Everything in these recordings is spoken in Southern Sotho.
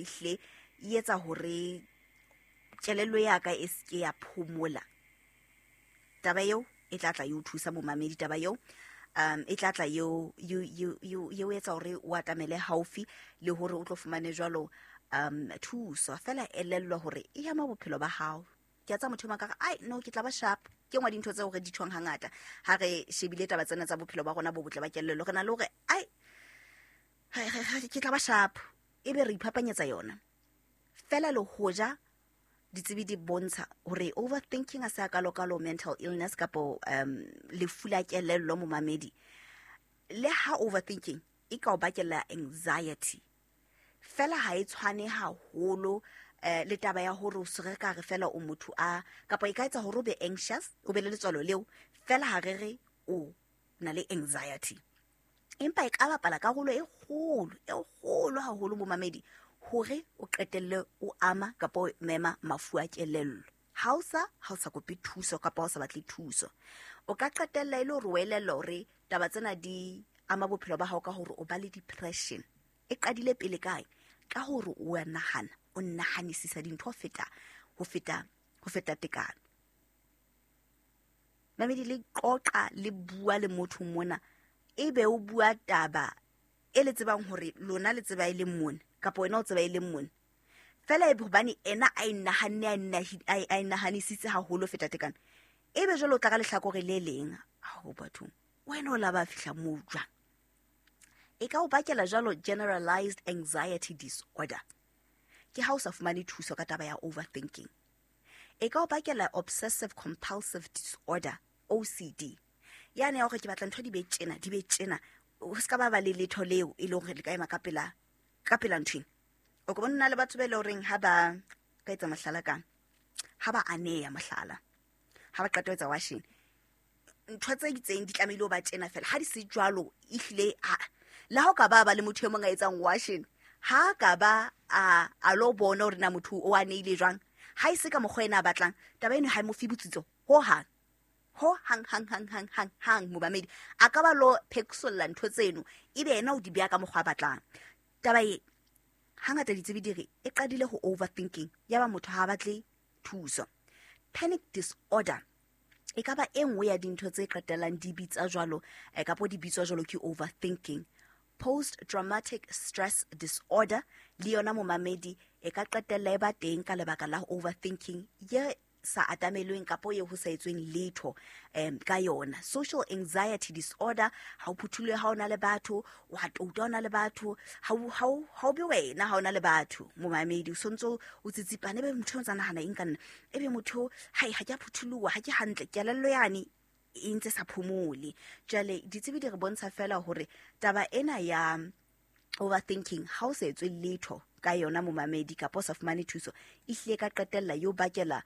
ehlile e etsa hore kelello ya ka e seke ya phomola. Taba eo e tla tla e o thusa momamedi, taba eo e tla tla eo eo etsa hore o atamele haufi le hore o tlo fumane jwalo thuso. Fela elellwa hore e ama bophelo ba hao. Ke a tsa motho e ka ai no, ke tla ba sharp. Ke ngwa dintho tseo re di tjhong hangata ha re shebile taba tsena tsa bophelo ba rona bo botle ba kelello. Re na le hore ai ke tla ba sharp, ebe re iphapanyetsa yona fela. Le hoja ditsebi di bontsha hore overthinking a se a kalo-kalo mental illness kapo lefu la kelello momamedi, le ha overthinking e ka o bakela anxiety fela, ha e tshwane haholo le taba ya hore o se re ka re fela o motho a kapa e ka etsa hore o be anxious, o be le letswalo leo fela, ha re re o na le anxiety, empa e ka bapala karolo e kgolo, e kgolo haholo momamedi, hore o qetelle o ama kapa o mema mafu a kelello ha o sa kope thuso kapa ha o sa batle thuso. O ka qetella e le hore o elellwa hore taba tsena di ama bophelo ba hao ka hore o ba le depression. E qadile pele kae? Ka hore o a nahana, o nahanisisa dintho ho feta tekano. Mamedi, le qoqa, le bua le motho mona, ebe o bua taba e le tsebang hore lona le tseba e leng mona, kapa wena o tseba e leng mona fela, ebe hobane ena a e nahanne, a e nahanisitse haholo ho feta tekano, ebe jwale o tla ka lehlakore le leng. Ao bathong, wena o la ba fihla moo jwang? E ka o bakela jwalo generalized anxiety disorder, ke ha o sa fumane thuso ka taba ya overthinking. E ka o bakela obsessive compulsive disorder, OCD, yane ya hore ke batla ntho di be tjena, di be tjena, o se ka ba ba le letho leo e leng hore le ka ema ka pela nthweng. O ka bona le batho ba e le horeng ha ba ka etsa mohlala, kang ha ba aneya mohlala, ha ba qeta ho etsa washing, ntho tse itseng di tlamehile ho ba tjena fela. Ha di se jwalo, ehlile le ha o ka ba ba le motho e mong a etsang washing, ha ka ba a lo bona hore na motho o aneile jwang, ha e se ka mokgwa ena a batlang, taba eno ha e mo fe botsitso ho hang, ho hang, hang, hang, hang, hang, hang. Momamedi a ka ba lo phekisolla ntho tseno, ebe ena o di beha ka mokgwa a batlang. Taba e hangata ditsebi di re e qadile ho overthinking, ya ba motho ha a batle thuso. Panic disorder e ka ba e nngwe ya dintho tse qetellang di bitsa jwalo, kapo di bitswa jwalo ke overthinking. Post traumatic stress disorder le yona momamedi e ka qetella e ba teng ka lebaka la overthinking ye sa atamelweng kapo ye ho sa etsweng letho ka yona. Social anxiety disorder, ha o phuthulohe ha o na le batho, o a touta o na le batho, ha o be wena ha o na le batho momamedi, o sontso o tsitsipane, ebe motho o ntsa nahana eng ka nna, ebe motho hai ha ke a phuthuloha, ha ke hantle, kelello yane e ntse sa phomole. Jwale ditsebi di re bontsha fela hore taba ena ya overthinking, ha o sa etswe letho ka yona momamedi, kapa o sa fumane thuso, e hlile ka qetella yo bakela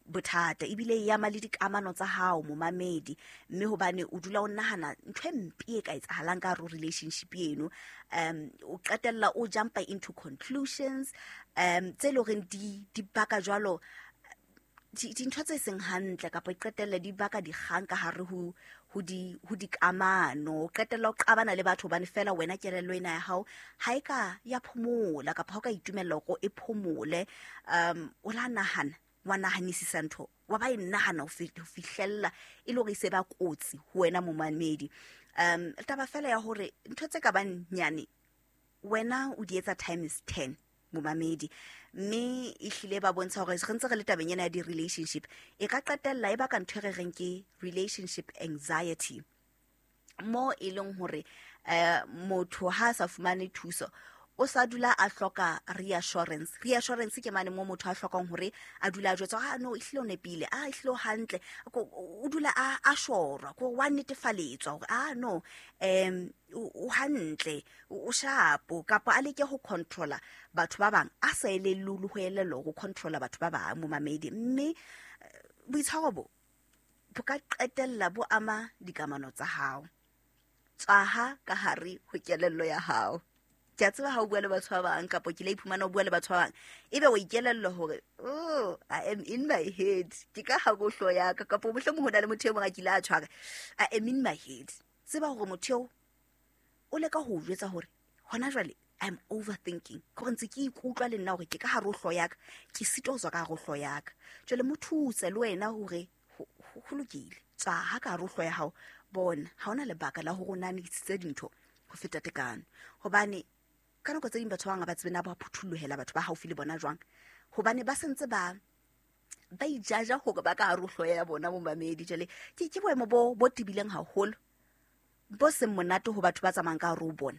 bothata, ebile e ama le dikamano tsa hao momamedi, mme hobane o dula o nahana ntho e mpe e ka etsahalang ka hare ho relationship eno, o qetella o jumpa into conclusions tse leng horeng di baka jwalo dintho tse seng hantle, kapa e qetelle di baka dikgang ka hare ho dikamano. O qetella o qabana le batho hobane fela wena kelello ena ya hao ha e ka ya phomola, kapa ha o ka itumella hore e phomole. O la nahana, wa nahanisisa ntho, wa ba e nahana ho fihlella e le hore e se ba kotsi ho wena momamedi. Taba fela ya hore ntho tse ka bang nyane wena o di etsa times 10 momamedi, mme ehlile ba bontsha hore re ntse re le tabeng ena ya di-relationship, e ka qetella e baka ntho e re reng ke relationship anxiety, mo e leng hore motho ha a sa fumane thuso, o sa dula a hloka reassurance. Reassurance ke mane mo motho a hlokang hore a dula a jwetswa, ah no, ehlile o nepile, ah ehlile o hantle. O dula a shorwa ko wa netefaletswa hore ah no, o hantle, o shapo, kapa a leke ho controla batho ba bang, a sa elellwe le ho elellwa ho controla batho ba bang momamedi. Mme boitshwaro bo bo ka qetella bo ama dikamano tsa hao. Tswaha ka hare ho kelello ya hao. Ke a tseba ha o bua le batho ba bang, kapa ke la iphumana o bua le batho ba bang, ebe o ikelellwa hore oh, I am in my head, ke ka hare ho hlooho ya ka, kapa mohlomong ho na le motho e mong a kile a tshwara, I am in my head. Tseba hore motho eo o leka ho o jwetsa hore hona jwale I'm overthinking. Ke gore ntse ke ikutlwa le nna gore ke ka gare o tlho yaka, ke sitwa go tswa ka gare o tlho yaka. Jwale mo thuse le wena hore ho lokile, tswa ha ka gare o tlho ya hao. Bona ha hona lebaka la hore o nahanisitse dintho ho feta tekano, hobane ka nako tse ding batho ba bang ha ba tsebe na ba phuthulohela batho ba haufi le bona jwang, hobane ba sentse ba ijaja hore ba ka hare ho hlooho ya bona momamedi. Jwale ke boemo bo tebileng haholo, bo seng monate ho batho ba tsamayang ka hare ho bona,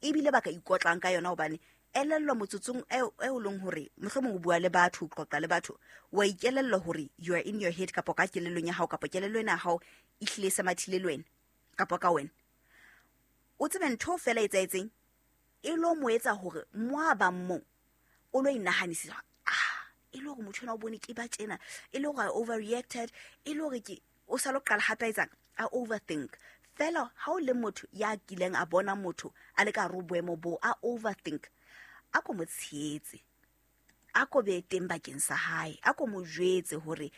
ebile ba ka ikotlang ka yona. Hobane elellwa motsotsong eo leng hore mohlomong o bua le batho, o qoqa le batho, wa ikelellwa hore you are in your head, kapa ka kelellong ya hao, kapa kelello ena ya hao e hlile e se mathile le wena kapa ka wena. O tsebe ntho feela e etsahetseng e lo mo etsa hore mo a bang mo o lo inahanisisa, e le hore motho ena o bone ke ba tjena, e le hore I overreacted, e le hore ke o sa lo qala hape a etsang, a overthink. Fela ha o le motho ya kileng a bona motho a le ka hare ho boemo bo a overthink, a ko mo tshehetse, a ko be teng bakeng sa hae, a ko mo jwetse hore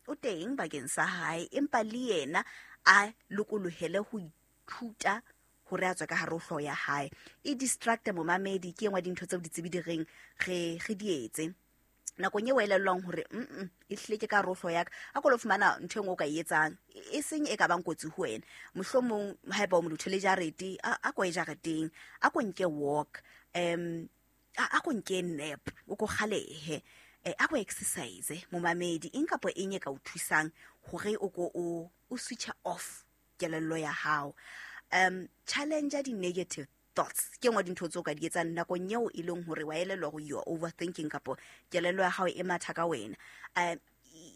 o teng bakeng sa hae, empa le yena a lokolohele ho ithuta hore a tswe ka hare ho hlooho ya hae. E distracte momamedi, ke e nngwe ya dintho tseo ditsebi di reng re di etse nakong eo elellwang hore e hlile ke ka hare ho hlooho ya ka. A ko lo fumana ntho e nngwe o ka e etsang, e seng e ka bang kotsi ho wena. Mohlomong haeba o molotho le jarete, a ko ye jareteng, a ko nke walk, a ko nke nap, o ko kgalehe, a ko exercise momamedi, eng kapa eng e ka o thusang hore o ko o switch off kelello ya hao. Challenge di-negative thoughts, ke nngwe dintho tseo ka di etsang nakong eo e leng hore wa elellwa hore you are overthinking, kapo kelello ya hao e matha ka wena.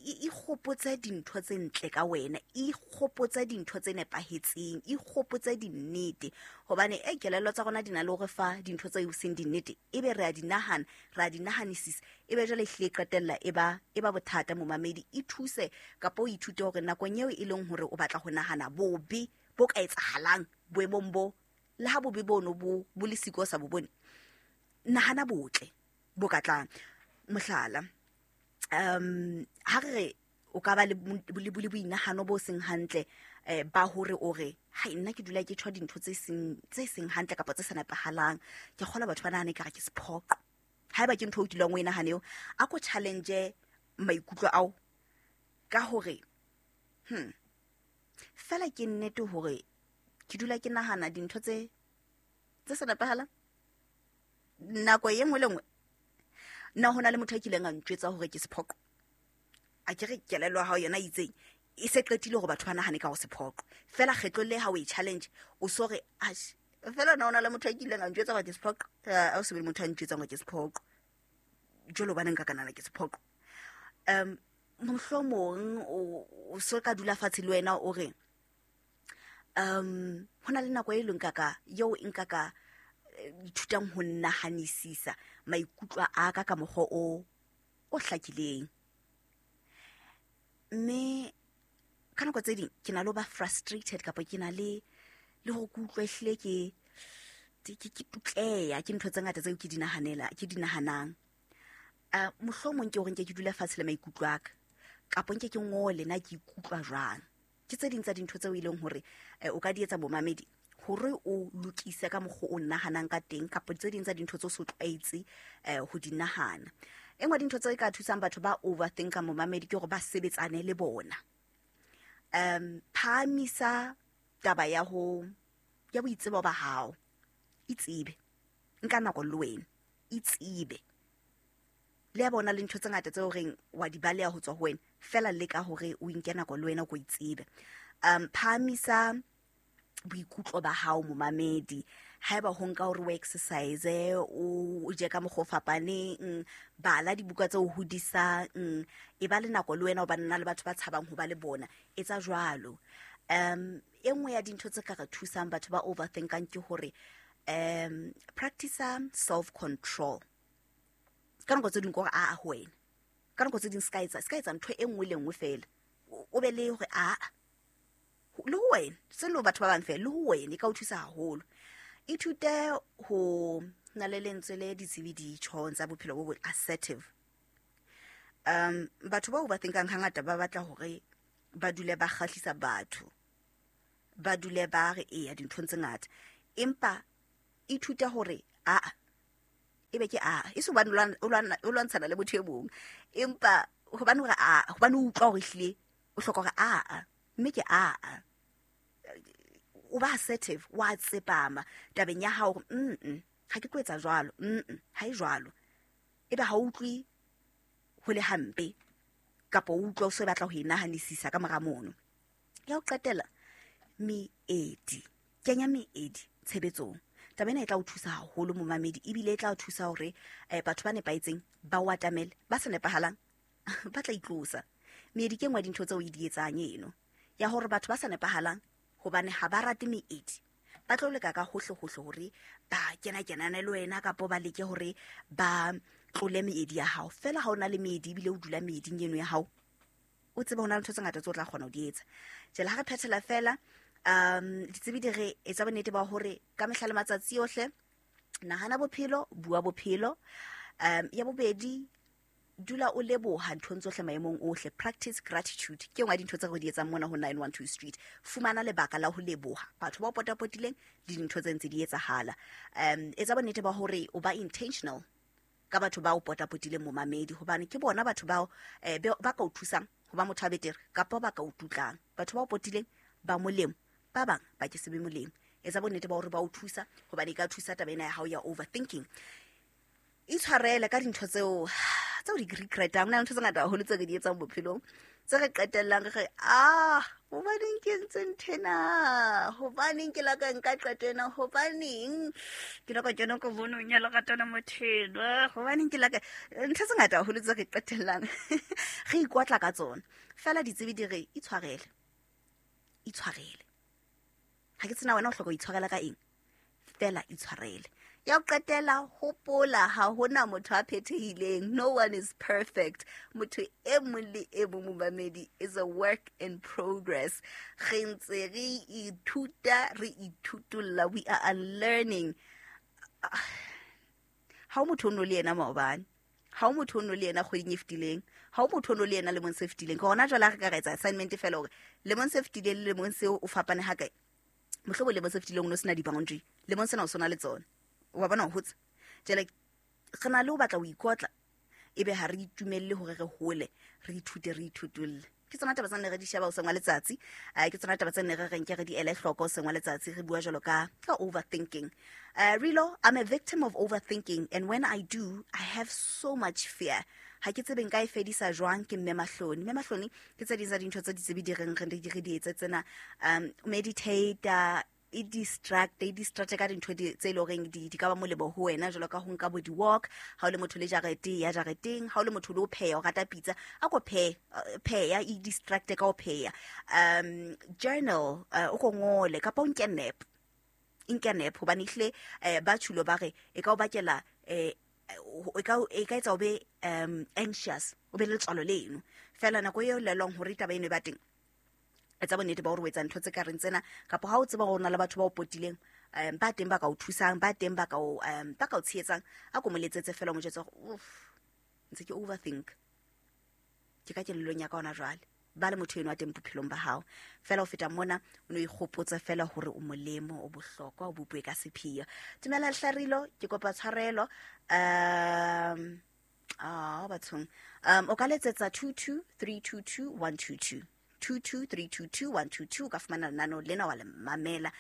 Ikgopotse dintho tse ntle ka wena, ikgopotse dintho tse nepahetseng, ikgopotse dinnete, hobane kelello tsa rona di na le hore fa dintho tse seng dinnete, ebe re a di nahana, re a di nahanisisa, ebe jwale ehlile e qetella e ba bothata momamedi. Ithuse kapa o ithute hore nakong eo e leng hore o batla ho nahana bobe bo ka etsahalang boemong bo, le ha bobe bono bo le siko sa bo bone, nahana botle bo ka tlang. Mohlala, ha re o ka ba le boinahano bo seng hantle, ba hore o re hai nna ke dula ke tjho dintho tse seng hantle kapa tse sa nepahalang, ke kgola batho ba nahane ekare ke sephoqo. Haeba ke ntho o dulang o e nahane eo, a ko challenge maikutlo ao ka hore fela ke nnete hore ke dula ke nahana dintho tse sa nepahalang nako e nngwe le nngwe. Nna hona le motho a kileng a ntjwetsa hore ke sephoqo, a ke re kelello ya hao yona e itseng e se qetile hore batho ba nahane ka ho sephoqo. Fela kgetlo le ha o e challenge, o so re ash, fela nna hona le motho a kileng a ntjwetsa hore ke sephoqo, a o se be le motho a ntjwetsang hore ke sephoqo, jwale hobaneng nka ka nahana ke sephoqo. Mohlomong o so ka dula fatshe le wena o re hona le nako e leng ka eo nka ka ithutang ho nahanisisa maikutlo a ka ka mokgwa o hlakileng. Mme ka nako tse ding ke na le ho ba frustrated, kapa ke na le hore ke utlwe ehlile ke tutleya ke ntho tse ngata tseo ke di nahanela, ke di nahanang. Mohlomong ke hore nke ke dula fatshe le maikutlo a ka, kapa nke ke ngole na ke ikutlwa jwang. Ke tse ding tsa dintho tseo e leng hore o ka di etsa momamedi hore o lokise ka mokgwa o nahanang ka teng, kapa tse ding tsa dintho tseo o so tlwaetse ho di nahana. E nngwe dintho tse ka thusang batho ba overthinka momamedi ke hore ba sebetsane le bona. Phahamisa taba ya ho ya boitsebo ba hao, itsebe, nka nako le wena, itsebe. Le ya bona le ntho tse ngata tseo reng wa di baleha ho tswa ho wena, fela leka hore o inke nako le wena o ko itsebe. Phahamisa boikutlo ba hao momamedi. Haeba ho nka hore o exercise, o je ka mokgwa o fapaneng, bala dibuka tse o hodisang, e ba le nako le wena hobane na le batho ba tshabang ho ba le bona, etsa jwalo. E nngwe ya dintho tse ka re thusang batho ba overthinkang ke hore practice self control. Ka nako tse ding ke hore a ho wena, ka nako tse ding se ka etsa ntho e nngwe le nngwe fela, o be le hore a le ho wena, se le batho ba bang fela, le ho wena e ka o thusa haholo. Ithute ho na le lentswe le ditsebi di tjhong tsa bophelo bo botle, assertive. Batho ba overthinkang hangata ba batla hore ba dule ba kgahlisa batho, ba dule ba re eya dinthong tse ngata, empa ithute hore Aa, ebe ke aa, e se hobane o lwantshana le motho e mong, empa hobane hore aa, hobane o utlwa hore ehlile o hloka hore aa, mme ke aa. O ba assertive, wa tsepama tabeng ya hao hore ha ke tlo etsa jwalo, ha e jwalo. Ebe ha o utlwe ho le hampe, kapa o utlwa o se batla ho e nahanisisa ka mora mono. Ya ho qetela, meedi. Kenya meedi tshebetsong. Taba ena e tla o thusa haholo momamedi, ebile e tla o thusa hore batho ba nepahetseng ba o atamele, ba sa nepahalang ba tla itlosa. Meedi ke nngwe ya dintho tseo e di etsang eno, ya hore batho ba sa nepahalang hobane ha ba rate meedi, ba tlo leka ka hohle hohle hore ba kena kenane le wena, kapa ba leke hore ba tlole meedi ya hao. Fela ha o na le meedi ebile o dula meeding eno ya hao, o tsebe ho na le ntho tse ngata tseo o tla kgona ho di etsa. Jwale ha re phethela fela, ditsebi di re etsa bonnete ba hore ka mehla le matsatsi ohle nahana bophelo, bua bophelo. Ya bobedi, dula o leboha nthong tsohle maemong ohle. Practice gratitude ke nngwe ya dintho tse re di etsang mona ho 912 Street. Fumana lebaka la ho leboha batho ba o potapotileng le dintho tse ntse di etsahala. Etsa bonnete ba hore o ba intentional ka batho ba o potapotileng momamedi, hobane ke bona batho bao ba ka o thusang ho ba motho a betere, kapa ba ka o tutlang. Batho ba o potileng ba molemo, ba bang ba ke se be molemo. Etsa bonnete ba hore ba o thusa, hobane e ka thusa taba ena ya hao ya overthinking. Itshwarele ka dintho tseo di regretang. Ho na le ntho tse ngata haholo tse re di etsang bophelong, tse re qetellang re re, hobaneng ke entse nthwena, hobaneng ke la ka nka qeto ena, hobaneng ke la ka kena ka bonong ya lerato la motho enwa, hobaneng ke la ka, ntho tse ngata haholo tse re qetellang re ikotla ka tsona. Fela ditsebi di re itshwarele, itshwarele. Ha ke tsena wena o hloka ho itshwarela ka eng, fela itshwarele. Ya ho qetela, hopola ha hona motho a phethehileng. No one is perfect. Motho e mong le e mong momamedi is a work in progress. Re ntse re ithuta, re ithutolla, we are unlearning. Ha o motho o no le yena maobane, ha o motho o no le yena kgweding e fetileng, ha o motho o no le yena lemong se fetileng. Ke hona jwale ha re ka re etsa assignment fela hore lemong se fetileng le lemong seo o fapane ha kae. Mohlomong lemong se fetileng o no sena di-boundary, lemong sena o sona le tsona. Wa bona ho hotse. Jwale re na le ho batla ho ikotla, ebe ha re itumelle hore re hole, re ithute, re ithutolle. Ke tsona taba tse nne re di sheba hoseng wa letsatsi. Ke tsona taba tse nne re reng ke re di ele hloko hoseng wa letsatsi, re bua jwalo ka overthinking. Rilo, I'm a victim of overthinking, and when I do, I have so much fear. Ha ke tsebe nka e fedisa jwang, ke Mme Mahloni. Mme Mahloni ke tse ding tsa dintho tse ditsebi di reng re di etse tsena. Meditate, e distract, e distract ka dintho tse leng horeng di ka ba molemo ho wena, jwalo ka ho nka bo di-walk. Ha o le motho le jarete, ya jareteng. Ha o le motho le ho pheha, o rata pitsa, a ko pheha, e distract ka ho pheha. Journal, o ko ngole, kapa o nke nap. Nke nap, hobane ehlile, ba tjhulo ba re, e ka o bakela, e ka etsa o be, anxious, o be le letswalo leno. Fela nako eo lelwang hore taba eno e ba teng, etsa bonnete ba hore o etsa ntho tse ka reng tsena, kapa ha o tseba hore o na le batho ba o potileng, ba teng ba ka o thusang, ba teng ba ka o, ba ka o tshehetsang, a ko mo letsetse fela o mo jwetse hore, uff, ntse ke overthink, ke ka kelellong ya ka hona jwale. Ba le motho eno a teng bophelong ba hao. Fela ho feta mona, o no ikgopotse fela hore o molemo, o bohlokwa, o bopuwe ka sepheo. Dumela Hlarilo, ke kopa tshwarelo. Bathong. O ka letsetsa 22322122. 22322122, o ka fumana lenaneo lena wa le mamela.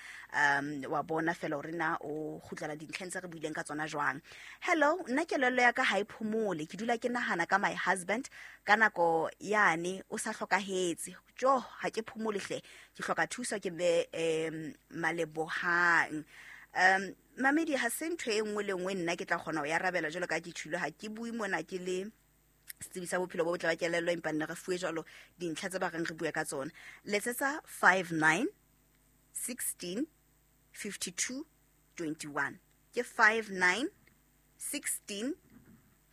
Wa bona fela hore na o kgutlela dintlheng tse re buileng ka tsona jwang. Hello, nna kelello ya ka ha e phomole, ke dula ke nahana ka my husband ka nako yane o sa hlokahetse. Jo, ha ke phomole hle, ke hloka thuso ke be, Malebohang. Mamedi, ha se ntho e nngwe le nngwe nna ke tla kgona ho e arabela jwalo ka ke tjhilo. Ha ke bue mona ke le setsebi sa bophelo bo botle ba kelello, empa nne re fuwe jwalo dintlha tse ba reng re bue ka tsona. Letsetsa 59 16 52 21. Ke 59 16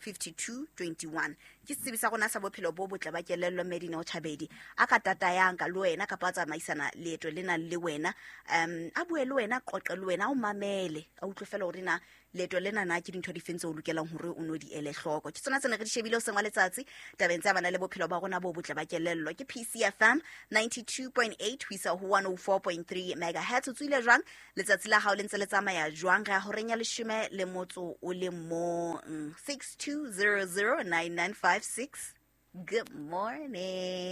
52 21. Ke setsebi sa rona sa bophelo bo botle ba kelello, Medina Chabedi, a ka tatayang ka le wena kapa a tsamaisana leeto lena le wena, a bue le wena, qoqe le wena, a o mamele, a utlwe fela hore na leeto lena na ke dintho di feng tseo o lokelang hore o no di ele hloko. Ke tsona tse ne re di shebile hoseng wa letsatsi tabeng tse amanang le bophelo ba rona bo botle ba kelello. Ke PCFM 92.8 ho isa ho 104.3 megahertz. O tswile jwang letsatsi la hao, le ntse le tsamaya jwang? Re ya horeng ya 11. 62009956. Good morning.